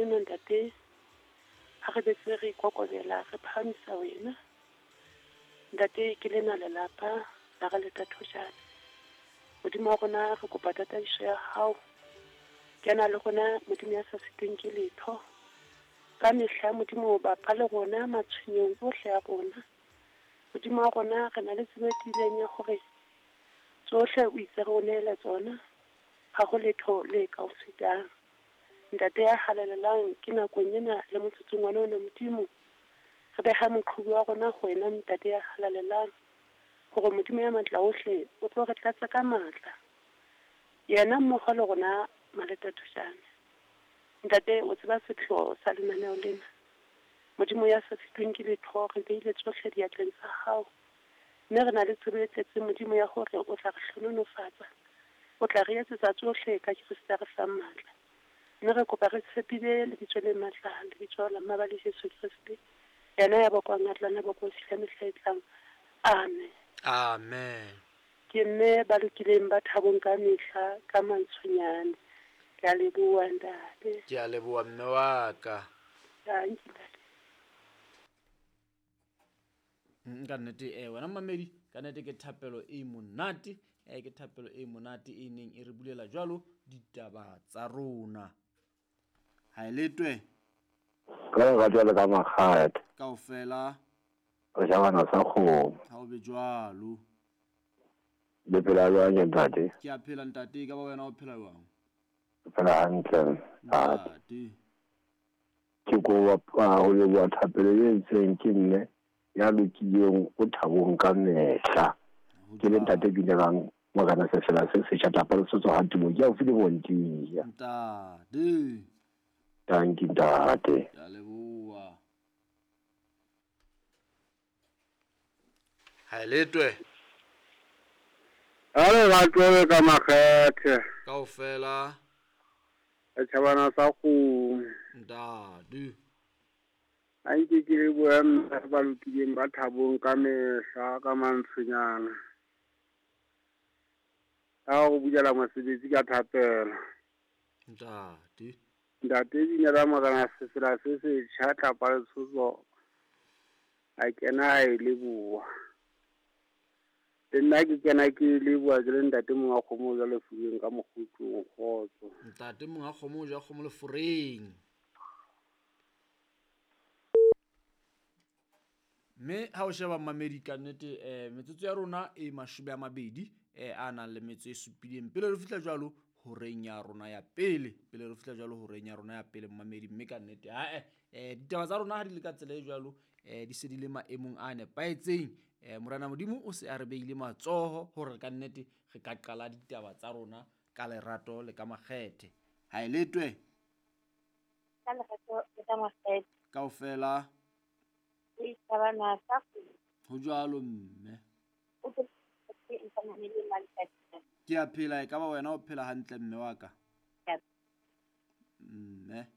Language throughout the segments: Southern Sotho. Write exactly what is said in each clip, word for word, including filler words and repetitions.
lena ntate, ha re betse re ikokobela re phahamisa wena. Ntate ke lena lelapa la re le Thathojane. Modimo wa rona re kopa tataiso ya hao. Kena le rona Modimo ya sa sitweng ke letho. Ka mehla Modimo bapa le rona matshwenyong ohle a rona. Modimo wa rona re na le tsebo e tiileng ya hore tsohle o itse re o neele tsona, ha ho letho le ka o sitang. Ntate ya halalelang ke nakong ena le motsotsong wa ona Modimo. Re beha moqhubu wa rona ho wena ntate ya halalelang, hore Modimo ya matla ohle o tlo re tlatsa ka matla. Yena mmoho le rona Maletatojane. Ntate o tseba sepheo sa lenaneo lena. Modimo ya sa sitweng ke letho re beile tsohle diatleng tsa hao. Mme re na le tsebo e tletseng Modimo ya hore o tla re hlohonolofatsa. O tla re etsetsa tsohle ka Kreste a re fang matla. Mme re kopa re tshepile lebitso le matla, lebitso la Mmabale Jesu Kreste. Yena ya bokwang a tla na bokwa fihla mehla e tlang. Amen. Amen. Ke mme ba lokileng ba thabong ka mehla ka mantshonyane. Ke a leboha ntate. Ke a leboha mme wa ka. Dankie ntate. Ka nnete eh wena mmamedi, ka nnete ke thapelo e monate, eh ke thapelo e monate e neng e re bulela jwalo ditaba tsa rona. Ha e letwe. Ka re jwalo ka makgate. Kaofela. Re jabana sa kgomo. Ha o be jwalo. Le phela jwang ntate? Ke a phela ntate, ka ba wena o phela jwang? Ke phela hantle ntate. Ke kopa ho leboha thapelo e entsweng ke mme ya lokileng o thabong ka mehla. Ke le ntate Binelang Morena Sefela se setjha tlapa le sotso ha tumo ke haufi le Bontia. Ntate. Dankie ntate. Ke a leboha. Ha e letwe. Ha re ratwe ka makgethe. Kaofela. E tjhabana sa kgomo. Ntate. A nke ke lebohe mme ba lokileng ba thabong ka mehla ka mantshonyana. Ha o bulela mosebetsi ka thapelo. Ntate. Ntate Binela Morena Sefela se setjha tlapa le tshotso. A kena a e leboha. Le nna ke kena ke leboha ke le ntate monga kgomo ja lefureng ka mokgutlong kgotso. Ntate monga kgomo ja kgomo lefureng. Mme ha o sheba mmamedi ka nnete eh metsotso ya rona e mashome a mabedi eh a nang le metso e supileng pele re fihla jwalo horeng ya rona ya pele, pele re fihla jwalo horeng ya rona ya pele mmamedi. Mme ka nnete ha eh eh ditaba tsa rona ha di le ka tsela e jwalo eh di se di le maemong a nepahetseng. Eh Morena Modimo o se a re beile matsoho hore ka nnete re ka qala ditaba tsa rona ka lerato le ka makgethe. Ha e letwe. Ka lerato le ka makgethe. Kaofela. Ho jwalo mme. Ke a phela, e ka ba wena o phela hantle mme wa ka? Mme.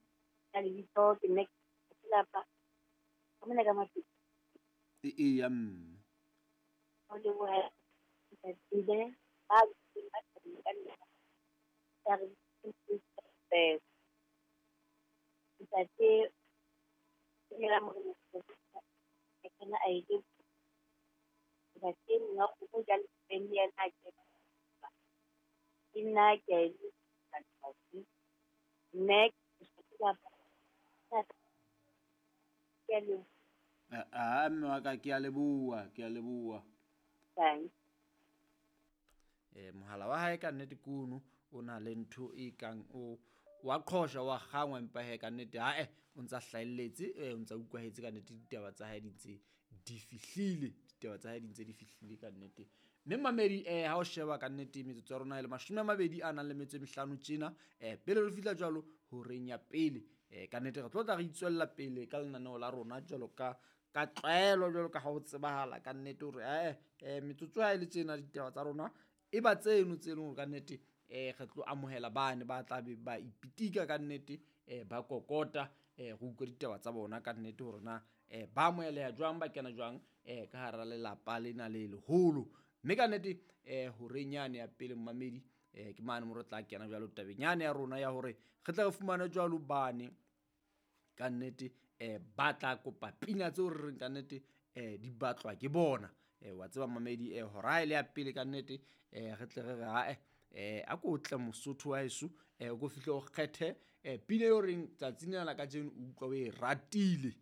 E eya mme. Ah, mme wa ka ke a leboha, ke a leboha. Eh mohala wa hae ka nnete kuno o na le ntho e kang o wa qhosha wa kgangwa empa he ka nnete ha eh o ntsa hlahelletse eh o ntsa utlwahetse ka nnete ditaba tsa hae di ntse di fihlile, ditaba tsa hae di ntse di fihlile ka nnete. Mme mamedi eh ha o sheba ka nnete metsotso ya rona e le mashome a mabedi a nang le metso e mehlano tjena eh pele re fihla jwalo horeng ya pele eh ka nnete re tlo tla re itswella pele ka lenaneo la rona jwalo ka ka tlwaelo jwalo ka ha ho tsebahala ka nnete hore eh eh metsotso ha e le tjena ditaba tsa rona e ba tseno tse leng hore ka nnete eh re tlo amohela bane ba tla be ba ipitika ka nnete eh ba kokota eh go utlwa ditaba tsa bona ka nnete hore na eh ba amoheleha jwang ba kena jwang eh ka hara lelapa lena le leholo. Mme ka nnete eh horeng yane ya pele mmamedi eh ke mane mo re tla kena jwalo tabeng yane ya rona ya hore re tla re fumana jwalo bane Ka nnete eh ba tla kopa pina tseo re reng ka nnete eh di batlwa ke bona. Eh wa tseba mamedi eh hora e le ya pele ka nnete eh re tle re re ha eh a ko tle Mosotho wa heso eh o ko fihle o kgethe eh pina eo reng tsatsing lena la kajeno o utlwa o e ratile.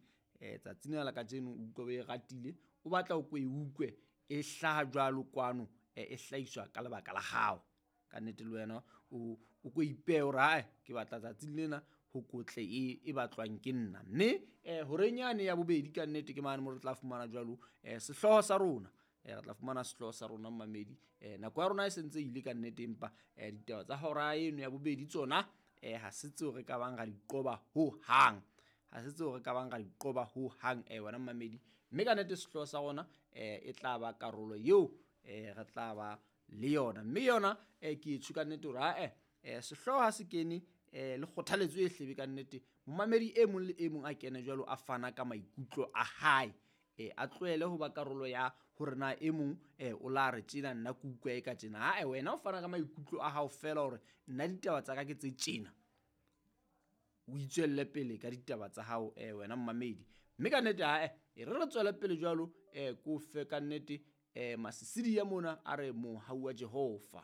Eh tsatsing lena la kajeno o utlwa o e ratile, o batla o ko e utlwe e hlaha jwalo kwano eh e hlahiswa ka lebaka la hao. Ka nnete le wena o o ko ipehe hore hae ke batla tsatsing lena ho kotle e e batlwang ke nna. Mme eh horeng yane ya bobedi ka nnete ke mane mo re tla fumana jwalo eh sehlooho sa rona. Eh re tla fumana sehlooho sa rona mamedi. Eh nako ya rona e sentse ile ka nnete empa eh ditaba tsa hora eno ya bobedi tsona eh ha se tseo re ka bang ra di qoba ho hang. Ha se tseo re ka bang ra di qoba ho hang eh wena mamedi. Mme ka nnete sehlooho sa rona eh e tla ba karolo eo eh re tla ba le yona. Mme yona eh ke e tjho ka nnete hore ha eh eh sehlooho ha se kene eh le kgothaletso e hlebe ka nnete momamedi e mong le e mong a kene jwalo a fana ka maikutlo a hae. Eh a tlohele ho ba karolo ya hore na e mong eh o la re tjena nna ke utlwa e ka tjena. Ha wena o fana ka maikutlo a hao fela hore nna ditaba tsa ka ke tse tjena, o itswelle pele ka ditaba tsa hao eh wena mmamedi. Mme ka nnete ha e re re tswele pele jwalo eh ko fe ka nnete eh masisidi ya mona a re mohau wa Jehova.